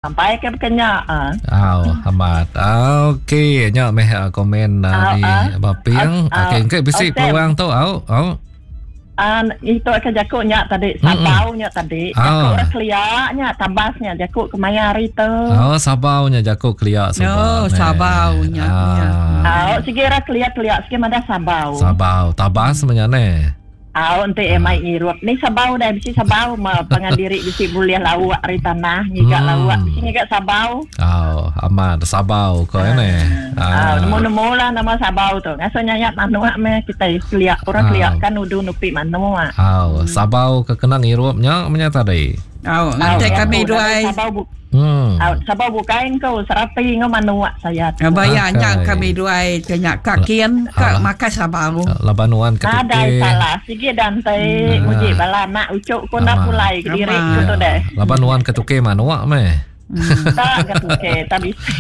Sampai ke bekenya. Au, amat. Okey, nya meh ah, komen ah, Au, ari ah. Baping. Au, Okey, engke bisi au, Sam. peluang tu. Au, au. Ah, itu ke jaku nya tadi, sabau nya tadi. Ah. Jaku orang kelia nya, tabas nya jaku kemaya hari tu. Oh, sabau nya jaku kelia suba. Oh, neh. sabau nya, Ah. ya. Au, sigi orang kelia-kelia sigi madah sabau. Sabau, tabas menya neh. Au enti iya mai ngirup ni sabau deh bisi sabau ma pangan diri bisi bulih lauk ari tanah ngiga Hmm. lauk bisi ngiga sabau. Au amat sabau ko iya neh. Au nemu nemu lah nama sabau tu ngasuh nyayat manuk meh kitai kelia orang kelia kan udu nupi manuk. Au sabau ke kena ngirup nya menya tadi. Au enti kami duai. Sabau bu Hmm. Au sabau bukai engkau serapi enggau manuk sayat. Baya nya kami duai ke nya ka kin ka makai sabau. Laban nuan ke Nadai salah sigi dah enti muji bala anak uchu ku enda pulai kediri ku tu deh. Laban nuan ke tukey manuk meh. Tak ke tukey tak bisi.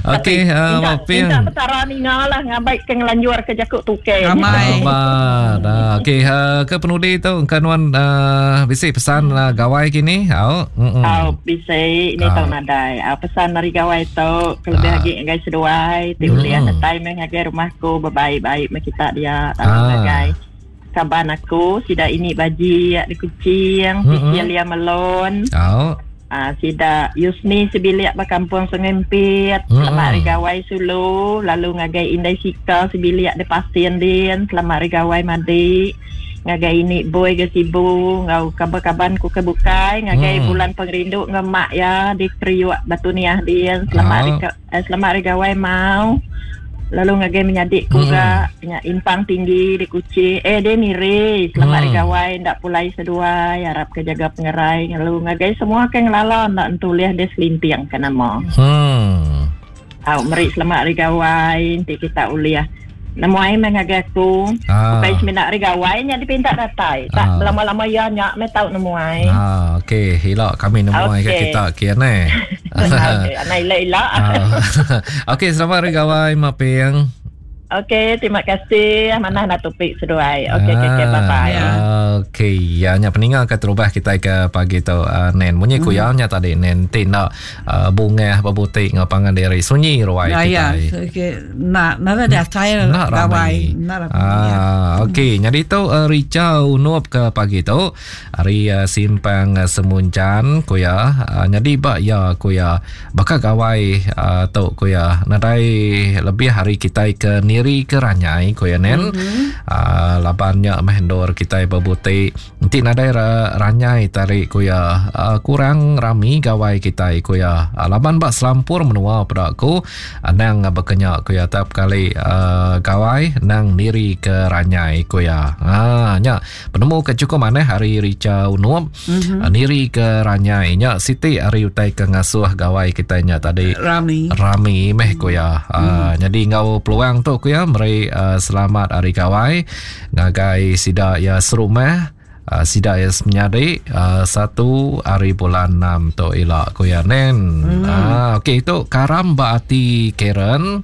Okey, uh, Ping. Minta petara ninga lah ngabai ke ngelanjur ke jaku tukey. Amat. Uh, Okey, uh, ke penudi tu engka nuan uh, bisi pesan uh, gawai kini? Au. Mm-mm. Au bisi ni tau nadai. Au pesan ari gawai tu kelebih ah. agi ngagai seduai ti ulih mm. datai meh ngagai rumah aku bebaik-baik meh kita dia lalu ah. ngagai kaban aku sida ini baji di Kuching, mm-hmm. Cecilia Melon. Au. Uh, sida Yusni sebilik ba kampung Sungai Empit, mm-hmm. selamat hari gawai sulu, lalu ngagai Indai Sika sebilik di Pasin din, selamat hari gawai madi. Ngagai ini boy ke Sibu enggau kaban-kaban ku ke bukai ngagai hmm. bulan pengerindu enggau mak ya di Kriuk Batu Niah din selamat hari eh, selamat hari gawai mau lalu ngagai menyadi ku hmm. ga nya impang tinggi di Kuching eh di Miri selamat hari hmm. gawai ndak pulai seduai harap ke jaga pengerai lalu ngagai semua ke ngelala ndak entulih di selinting ke nama hmm. Au meri selamat hari gawai enti kita ulih nemuai meh ngagai aku. Ah. Ukai semina hari gawai nya dipinta datai. Tak Ah. belama-lama iya nya meh tau nemuai. Ah, okey, ila kami nemuai ke Okey. kita kian eh. Okey, anak ila-ila. Ah. Okey, selamat hari gawai Mak Ping. Okey, terima kasih. Manah nak topik seduai. Okey, okey, okey, bye bye. Ah, Okey, ya nya peninga ke terubah kita ke pagi tu uh, Nen. Munyi ku ya nya tadi Nen ti nak uh, bungah bebutik ngau pangan diri sunyi ruai Ya, ya. kitai. Okey, nak nak ada saya Nak gawai, ramai. nak ramai. Ah, okey. Jadi tu uh, Rica Unup ke pagi tu hari uh, simpang uh, Semunjan ku ya. Uh, jadi ba ya ku ya. Baka gawai uh, tu ku ya. Nadai lebih hari kitai ke niri ke ranyai ku ya nen. Mm-hmm. Uh, laban nya meh endur kitai bebutik. Enti nadai ra, ranyai tarik ku ya. Uh, kurang rami gawai kitai ku ya. Uh, laban ba selampur menua peda ku anang bekenya ku ya tiap kali uh, gawai nang niri ke ranyai ku ya. Ha nya penemu ke cukup manah hari Richa Unup mm-hmm. uh, niri ke ranyai nya siti hari utai ke ngasuh gawai kitai nya tadi Rami. rami meh ku ya. Uh, jadi ngau peluang tu ku ya meri uh, selamat hari gawai ngagai sida ya serumah uh, sida ya semenyadi uh, satu hari bulan 6 tu ila ku ya nen. Hmm. Uh, okey itu karam ba ati Karen.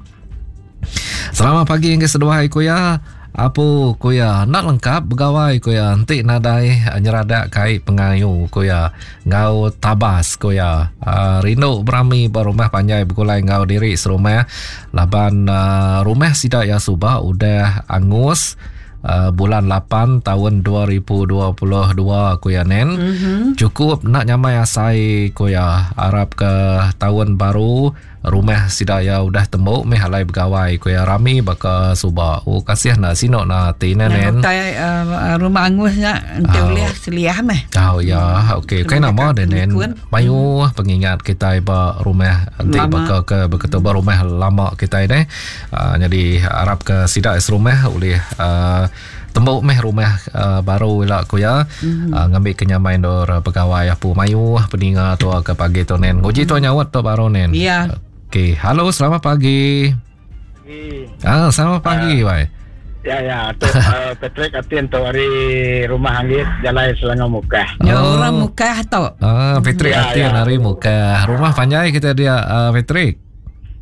Selamat pagi yang seduai ku ya. Apu ku ya nak lengkap begawai ku ya enti nadai eh, nyeradak kai pengayu ku ya ngau tabas ku ya uh, rindu berami ba rumah panjai begulai ngau diri serumah laban uh, rumah sida ya suba udah angus uh, bulan 8 tahun 2022 ku ya nen. Mm-hmm. Cukup nak nyamai asai ku ya harap ke tahun baru rumah sida ya udah tembuk meh alai begawai ku ya rami baka suba. Oh kasih nak sinok na ti nen nen. Yang utai uh, rumah angusnya enti Ah. ulih seliah meh. Oh ya, okey. Kai nama deh nen. Nikun. Mayuh pengingat kita ba rumah enti Lama. baka ke beketu ba rumah lama kita deh. Uh, jadi harap ke sida serumah oleh uh, tembuk meh rumah uh, baru ila ku ya. Mm-hmm. Uh, ngambil kenyamai dor pegawai apu mayuh peninga tua ke pagi tu nen. Nguji tua nyawat tu baru nen. Ya. Okey, halo selamat pagi. Ah, selamat pagi, uh, wai. Ya ya, tu uh, Patrick Atin tu hari rumah Anggit Jalai Selangor Mukah. Ya orang Mukah tu. Ah, Patrick Ya, Atin ya. hari Mukah. Rumah panjai kita dia uh, Patrick.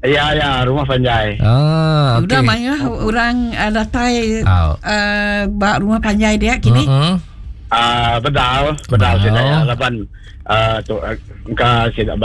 Ya ya, rumah panjai. Ah, okey. Udah mayuh orang uh, datai Au. uh, ba rumah panjai dia kini. Mm-mm. Uh, bedal, bedal sida ya laban uh, tu engka sida.